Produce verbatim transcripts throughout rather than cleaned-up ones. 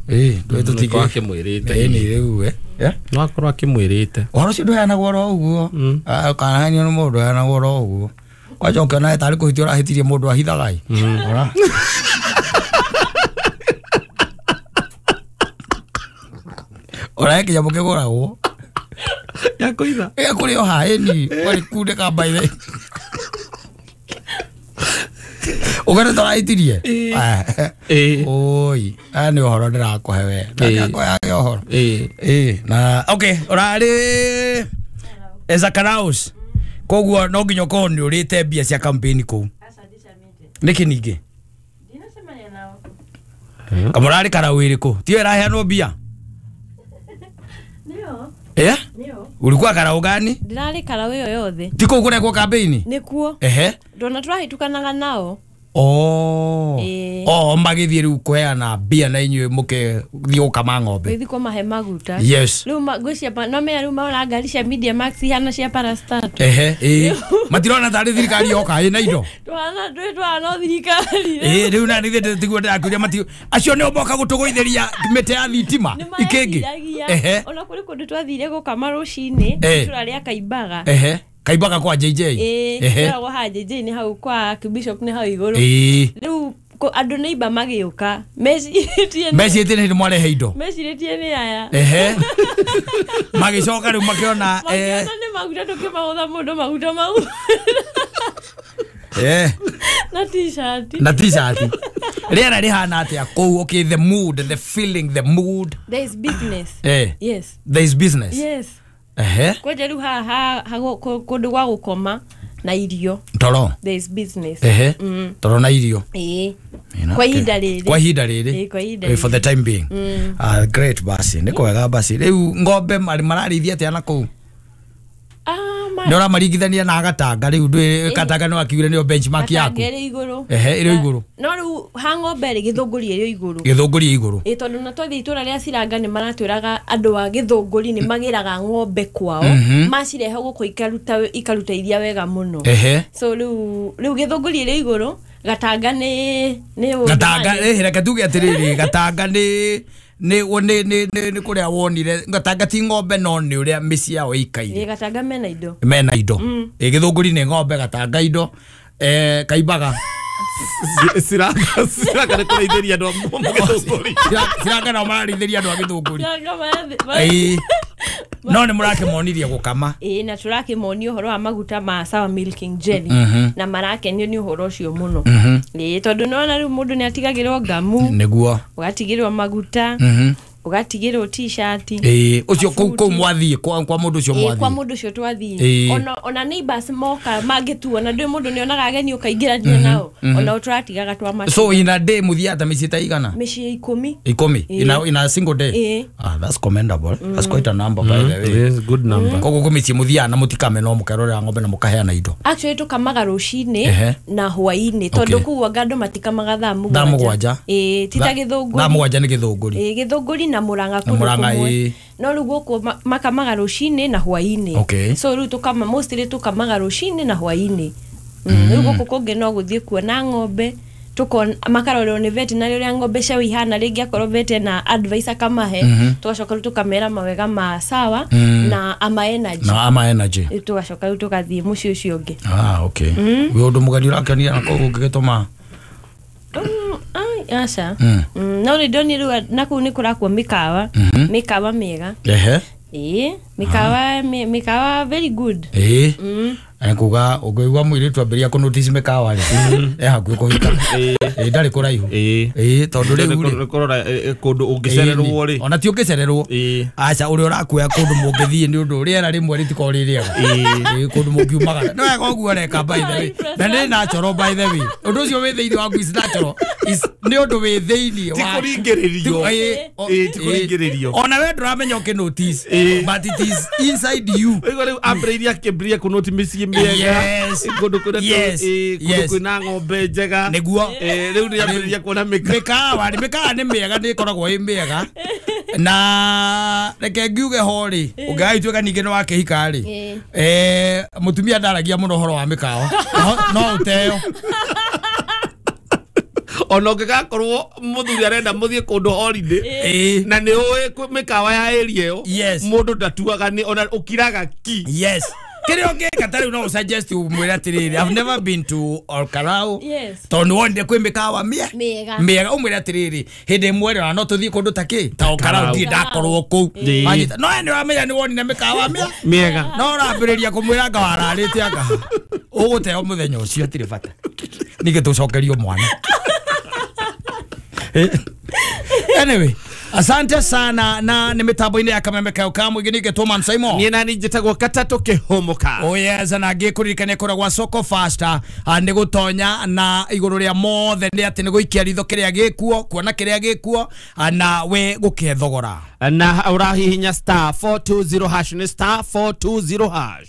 Ĩĩ ndũĩ tũtingĩ akĩmwĩrĩte. Ĩĩ nĩ rĩu eh no akorwo akĩmwĩrĩte. Ũhoro ũcio ndũheanagwo oro ũguo. Kanahenio nĩ mũndũ ndũheanagwo oro ũguo. Kwanja ũkĩona tarĩ kũhitia ũrahĩtirie mũndũ ahithaga ĩ. Ora. Ora kĩnyamũ kĩgũragwo. Ya kũitha. Ya kũrĩ o ha ĩni warĩ kundĩka mbaithe. Ũgere tũrahĩtirie. Ĩĩ. Oi, aya nĩ ũhoro ndĩrakũhe we. Ndakũheage ũhoro. Ĩĩ. Ĩĩ na okay ũrarĩ Ezakaraus. Koguo no nginya ũkorwo nĩ ũrĩte mbia cia campaign kũu. Nĩkĩ ningĩ? Ndinacemania nao. Kamũrarĩ karau ĩrĩkũ? Tiyo ĩraheanwo mbia? Nĩyo. Eh? Nĩyo. Ulikuwa karau gani? Ndĩrarĩ karau ĩyo yothe. Ti kũu kũrekwo campaign? Nĩkuo. Ehe. Ndona tũrahĩtũkanaga nao. Oh. Ĩĩ. Oh, magĩthiĩ rĩu kũheana mbia na inyuĩ mũkĩthiĩ gũkama ng'ombe. Gũthiĩ kũmahe maguta. Yes. Rĩu ngwĩciria no menya rĩu marona ngari cia Media Max ihana cia Parastat. Ehe, ĩĩ. Matirona tarĩ thirikari yoka ĩna indo. Tũhana twĩ tũhana thirikari. Ĩĩ rĩu na nithe tiguo ndĩrakũria mati acio nĩo moka gũtũgũithĩria mĩtĩ ya thitima ikĩngĩ. Ehe. Ona kũrĩ kũndũ twathire gũkama rũcinĩ itũra rĩa Kaimbaga. Ehe. Kaimbaga kwa J J. Ĩĩ, kwa ha J J nĩ hau kwa Bishop nĩ hau igũrũ. Ĩĩ. Rĩu andũ nĩ imba magĩũka. Mecirĩtie mecirĩtie nĩ mwarehe indo. Mecirĩtie nĩ aya. Ehe. Magĩcoka rĩu makĩona eh nĩ maguta tũkĩmahũtha mũndũ maguta mau. Eh. Na t-shirt. Na t-shirt. Rĩera rĩhana atĩa kũu? Okay, the mood, the feeling, the mood. There is business. Eh. Yes. There is business. Yes. Ehe. Kwanja rĩu haha kũndũ gwa gũkoma na irio. Toro. There is business. Ehe. Toro na irio. Ĩĩ. Kwa ihinda rĩrĩ. Kwa ihinda rĩrĩ. Ĩĩ, kwa ihinda rĩrĩ. For the time being. Ah, great basi. Nĩ kwega basi. Rĩu ng'ombe mararĩithia atĩa na kũu? Ah, ma. Nĩ ũramaringithania na Gatanga rĩu ndwĩ Gatanga nĩ wakiugire nĩyo benchmark yaku. Gatanga ĩrĩ igũrũ. Ehe, ĩrĩ igũrũ. No rĩu ha ng'ombe rĩ Gĩthũngũri ĩrĩ igũrũ. Gĩthũngũri ĩ igũrũ. Ĩĩ tondũ na twathiĩ itũra rĩa Ciranga nĩ maratwĩraga andũ a Gĩthũngũri nĩ magĩraga ng'ombe kwao. Macirehe gũkũ ikaruta ikaruta iria wega mũno. Ehe. So rĩu rĩu Gĩthũngũri ĩrĩ igũrũ, Gatanga nĩ nĩ Gatanga eh reke tuge atĩrĩrĩ Gatanga nĩ nĩ nĩ nĩ nĩ kũrĩa wonire Gatanga ti ng'ombe no nĩ ũrĩa mĩciĩ yao ĩikaire. Ĩĩ Gatanga mena indo. Mena indo. Ĩĩ Gĩthũngũri nĩ ng'ombe Gatanga indo. Eh Kaimbaga. Ciranga Ciranga nĩ kũrĩithĩria andũ a Gĩthũngũri. Ciranga nao mararĩithĩria andũ a Gĩthũngũri. Ciranga Ĩĩ. No nĩ mũrakĩmonirie gũkama. Ĩĩ na tũrakĩmonia ũhoro wa maguta ma Sawa Milking Jelly na marakenio nĩ ũhoro ũcio mũno. Ĩĩ tondũ nĩwona rĩu mũndũ nĩ atigagĩrwo ngamu. Nĩguo. Ũgatigĩrwo maguta. Ũgatigĩrwo t-shirt. Ĩĩ ũcio kũu kũu mwathiĩ kwa kwa mũndũ ũcio mwathiĩ. Kwa mũndũ ũcio twathiĩ. Ona ona neighbors moka mangĩtuona ndũĩ mũndũ nĩonaga ageni ũkaingĩrania nao. Ona tũratigaga twamatiga. So in a day mũthiaga mĩciĩ ta igana? Mĩciĩ ikũmi. Ikũmi in a in a single day. Ah, that's commendable. That's quite a number by the way. Yes, good number. Koguo kwĩ mĩciĩ mũthiaga na mũtikame no mũkerorera ng'ombe na mũkaheana indo. Actually tũkamaga rũcinĩ na hwaĩ-inĩ tondũ kũu anga andũ matikamaga thaa mũgwanja. Thaa mũgwanja. Ĩĩ ti ta Gĩthũngũri. Thaa mũgwanja nĩ Gĩthũngũri. Ĩĩ Gĩthũngũri na Murang'a kũndũ kũmwe. No rĩu gũkũ makamaga rũcinĩ na hwaĩ-inĩ. So rĩu tũkama mostly tũkamaga rũcinĩ na hwaĩ-inĩ. Rĩu gũkũ kũngĩ no gũthiĩ kuona ng'ombe tukon makarorwo nĩ veterinary ũrĩa ng'ombe ciao ihana rĩngĩ akorwo vet na advice akamahe tugacoka rĩu tũkamera mawega ma Sawa na ama energy. Na ama energy. Tugacoka rĩu tũgathiĩ mũciĩ ũcio ũngĩ. Ah, okay. Wĩ ũndũ mũgeni ũrakenia na kũu ũngĩgĩtũma? Aca. No rĩ ndonire rĩu na kũu nĩ kũrakwo mĩkawa. Mĩkawa mĩega. Ehe. Ĩĩ, mĩkawa mĩkawa very good. Ĩĩ. Nĩ kuga ũngĩigua mũirĩtu ambĩrĩria kũ notice mĩkawa rĩ e hakuhĩ kũhika. Ĩĩ ndarĩ kũraihu. Ĩĩ tondũ rĩu rĩ kũrora kũndũ ũngĩcererwo rĩ. Ona ti ũngĩcererwo. Aca ũrĩa ũrakuoya kũndũ mũngĩthiĩ nĩ ũndũ rĩera rĩmwe rĩtikoragwo rĩ rĩega. Ĩĩ kũndũ mũngiumagara. Nĩ wega ũguo ũreka by the way. Na nĩ natural by the way. Ũndũ ũcio wĩ thĩinĩ waku is natural. Nĩ ũndũ wĩ thĩinĩ wa ti kũringĩrĩrio. Ĩĩ ti kũringĩrĩrio. Ona we ndũramenya ũkĩ notice but it is inside you. Ũigua rĩu ambĩrĩirie akĩambĩrĩria kũ notice mĩciĩ mĩega. Kũndũ kũrĩa kũndũ kwĩna ng'ombe njega. Nĩguo. Rĩu nĩ ambĩrĩria kuona mĩkawa. Mĩkawa nĩ mĩega nĩ ĩkoragwo ĩ mĩega. Na reke ngiuge ho rĩ ũngĩgagĩtuĩka ningĩ nĩ wakĩhika rĩ eh mũtumia ndaragia mũno ũhoro wa mĩkawa no ũteo. Ona ũngĩgakorwo mũthuri arenda mũthiĩ kũndũ holiday na nĩ ũĩ mĩkawa ya area ĩyo mũndũ ndatuaga nĩ ona ũkiraga ki. Yes. Kĩrĩa ũngĩka ta rĩu no suggest ũmwĩre atĩrĩrĩ, I've never been to Olkarau. Tondũ wonire kwĩ mĩkawa mĩega mĩega, ũmwĩre atĩrĩrĩ hĩndĩ ĩmwe rĩ no tũthiĩ kũndũ ta kĩ ta Olkarau, ndirĩ ndakorwo kũu. No we nĩ wamenya nĩ wonire mĩkawa mĩega, no ũrambĩrĩria kũmwĩra anga wararĩte anga ũgũteo mũthenya ũcio, hatirĩ bata ningĩ tũcokerio mwana. Anyway, asante sana na nĩ mĩtambo-inĩ ya Kameme Kayo ka Mũingĩ ningĩ Tũman Simon. Niĩ nani njĩtagwo Katatũ Kĩhũmũka. Oh yes, na ngĩkũririkania kũrĩa gwa Soko Faster nĩ gũtonya na igũrũ rĩa mothe nĩ atĩ nĩ gũikia ritho kĩrĩa gĩkuo, kuona kĩrĩa gĩkuo na we gũkĩhe thogora. Na ũrahihinya star four two zero hash nĩ star four two zero hash.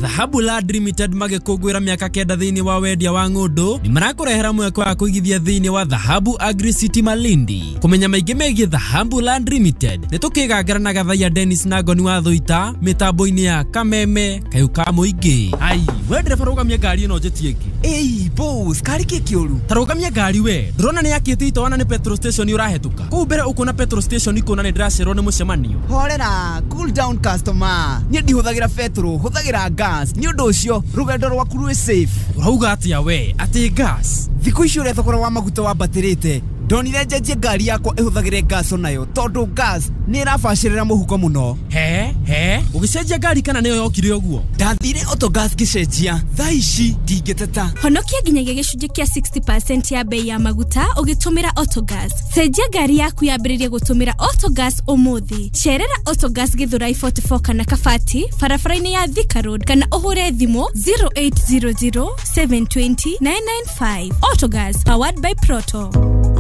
Dhahabu Land Limited magĩkũngũĩra mĩaka kenda thĩinĩ wa wendia wa ng'ũndũ nĩ marakũrehera mweke wa kũigithia thĩinĩ wa Dhahabu Agri City Malindi. Kũmenya maingĩ megiĩ Dhahabu Land Limited nĩ tũkĩgangara na Gathaiya Dennis na Ngoni wa Thũita mĩtambo-inĩ ya Kameme Kayo ka Mũingĩ. Ai, we ndereba rũgamia ngari ĩno njĩtie ĩngĩ. Ĩi boss, kari kĩ kĩũru? Ta rũgamia ngari we, ndũrona nĩ yakĩte itoana nĩ petrol station ũrahĩtũka. Kũu mbere ũkuona petrol station ikũna nĩ ndĩracerwo nĩ mũcemanio. Horera, cool down customer. Niĩ ndihũthagĩra petrol, hũthagĩra gas. Nĩ ũndũ ũcio rũgendo rwaku rwĩ safe. Ũrauga atĩa we atĩ gas? Thikũ ici ũrĩa thogora wa maguta wambatĩrĩte, ndonire njenjie ngari yakwa ĩhũthagĩre gas onayo tondũ gas nĩ ĩrabacĩrĩra mũhuko mũno. He he, ũgĩcenjia ngari kana nĩyo yokire ũguo? Ndathire Autogas ngĩcenjia, thaa ici ndingĩteta. Honokia nginyagia gĩcunjĩ kĩa sixty percent ya bei ya maguta ũgĩtũmĩra Autogas. Cenjia ngari yaku yambĩrĩrie gũtũmĩra Autogas ũmũthĩ. Cerera Autogas Githurai forty-four kana Kabati barabara-inĩ ya Thika Road kana ũhũre thimũ zero eight zero zero seven two zero nine nine five. Autogas powered by Proto.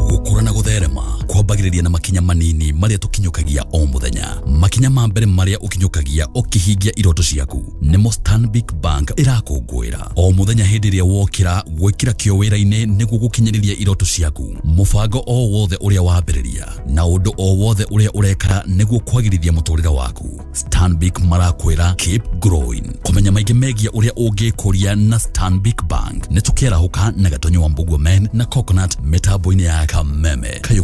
Gukura na gutherema kwambagiriria na makinya manini maria tukinyukagia o muthenya. Makinya ma mbere maria ukinyukagia ukihingia iroto ciaku nimo Stanbic Bank irakũngũĩra o muthenya hindi ria wokira gwikira kio wira-ini niguo gukinyiriria iroto ciaku. Mubango o wothe uria wambiriria na undu o wothe uria ureka niguo kwagirithia muturire waku. Stanbic marakwira keep growing. Kumenya maingi megia uria ungikuria na Stanbic Bank ni tukiarahuka na Gatonyo wa Mbugua Men na Coconut mitambo-ini ya Kameme Kayo.